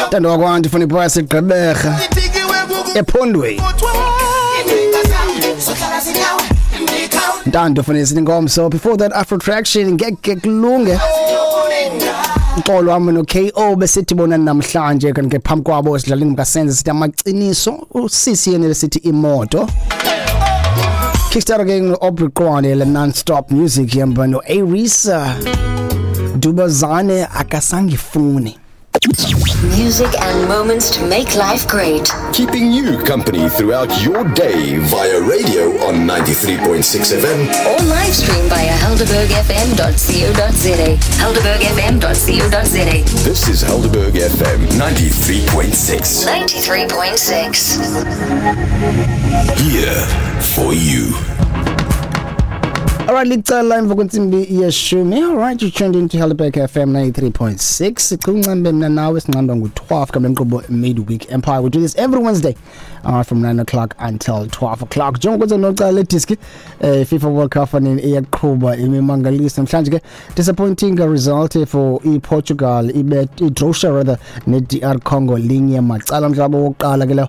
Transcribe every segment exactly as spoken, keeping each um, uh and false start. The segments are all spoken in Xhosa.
Ntando wakwantu funa iboya sigqeberha ephondweni. Ntando funa isingomso. Before that, Afro Traction ngeke kulunge. Uxolo wami no K O besithi bona namhlanje kanti ke phambi kwabo sidlaleni mkasenze sithi amaqiniso usisi yena sithi imoto. Kickstart again no Aubrey Qwane le non-stop music yamba no Arisa Dubazane akasangifuni. Music and moments to make life great. Keeping you company throughout your day via radio on ninety-three point six F M or live stream via helderberg f m dot co dot za. helderberg f m dot co dot za. This is Helderberg F M ninety-three point six. ninety-three point six. Here for you. Alright, licala emva kwentsimbi yeshumi. Alright, you tuned into Helderberg F M ninety-three point six. Sincambe mna nawe sincamba ngu-twelve kambe nkqubo Midweek Empire. We do this every Wednesday uh, from nine o'clock until twelve o'clock. Njengoba nocala lediski eh, FIFA World Cup fanele iyaqhuba imimangaliso namhlanje ke disappointing result for iPortugal ibe iDrosia rather ne-D R Congo linye macala mhlaba wokuqala ke lo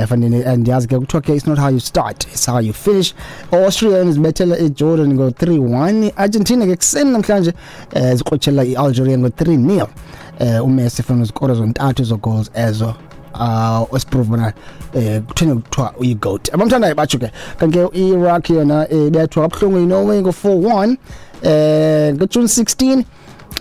fanele andiyazi ke kuthiwa ke it's not how you start, it's how you finish. Austria izibethela iJordan ngo three one. Argentina ke kuseni namhlanje ziqotshela iAlgeria ngo three nil. Eh uMessi funa izikoro zontathu zo goals ezo uh osiprove bona eh kutheni kuthiwa uyigoat. Abamthandayo batsho ke kanti ke iIraq yona ibethwa kabuhlungu iNorway ngo four one eh ngo June sixteen.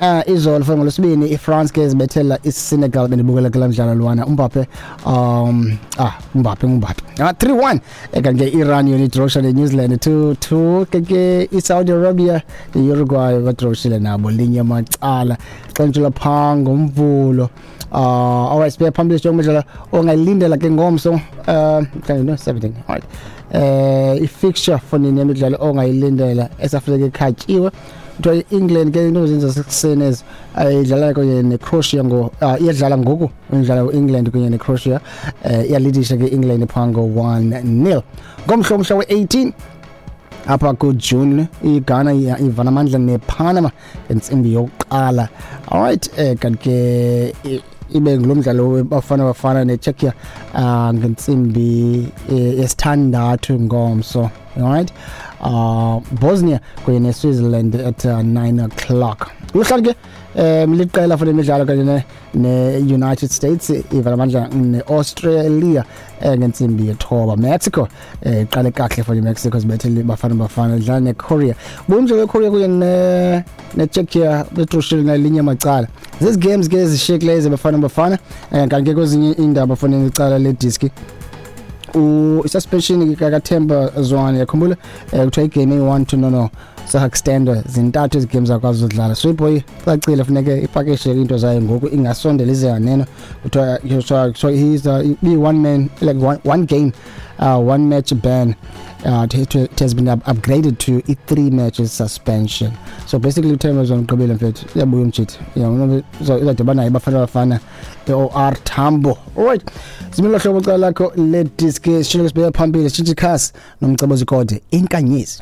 Uh, izolo for ngolwesibini iFrance ke zibethela iSenegal bendibukela kula mdlalo lwana uMbappe um ah Mbappe Mbappe ah three one kanti ke Iran yona idrosha neNew Zealand two two ke iSaudi Arabia neUruguay badroshile nabo linye macala xentshela pha ngomvulo. Uh alright, sibe phambili nje umdlalo ongayilindela ke ngomso uh no seventeen. Alright, eh i-fixture for nini emidlalo ongayilindela esafike ekhatyiwe kuthiwa i-England ke into zenza sekuseni ezi idlala kunye neCroatia ngo iyadlala ngoku idlala u-England kunye neCroatia eh iyalidisha ke England pha ngo one nil ngomhla umhla we-eighteen apha ku-June iGhana ivana amandla nePanama ngentsimbi yokuqala. Alright, eh kanti ke ibe ngulo mdlalo bafana bafana neCzechia ngentsimbi yesithandathu ngomso. Alright, uh Bosnia kunye neSwitzerland at uh, nine o'clock. Uhlala ke um liqela for imidlalo kanye ne-United States ivala amandla ne-Australia ngentsimbi yethoba. Mexico iqale kahle for iMexico zibethele bafana bafana idlala neKorea. Umdlalo weKorea kunye ne-Czechia bedroshile nalinye macala. Zezi games ke ezishiyekileyo zebafana bafana kanti ke kwezinye iindaba fanele icala lediski u-suspension kaThemba Zwane yakhumbula kuthiwa igame eyi-one to no no sa-extender zintathu ezi games akwazi udlala so iboy cacile funeke ipakishe into zayo ngoku ingasondela ize yaneno kuthiwa so he's uh, be one man like one, one game uh, one match ban uh, it, it has been up upgraded to i three matches suspension. So basically uThemba Zwane ugqibile mfethu uyabuya umjitha yeah so izadibana naye bafana bafana O R Tambo. Alright, similo hlobo cala lakho le diski sishilo sibeka phambili sitshintshe ikhasi nomcebo zikode inkanyezi.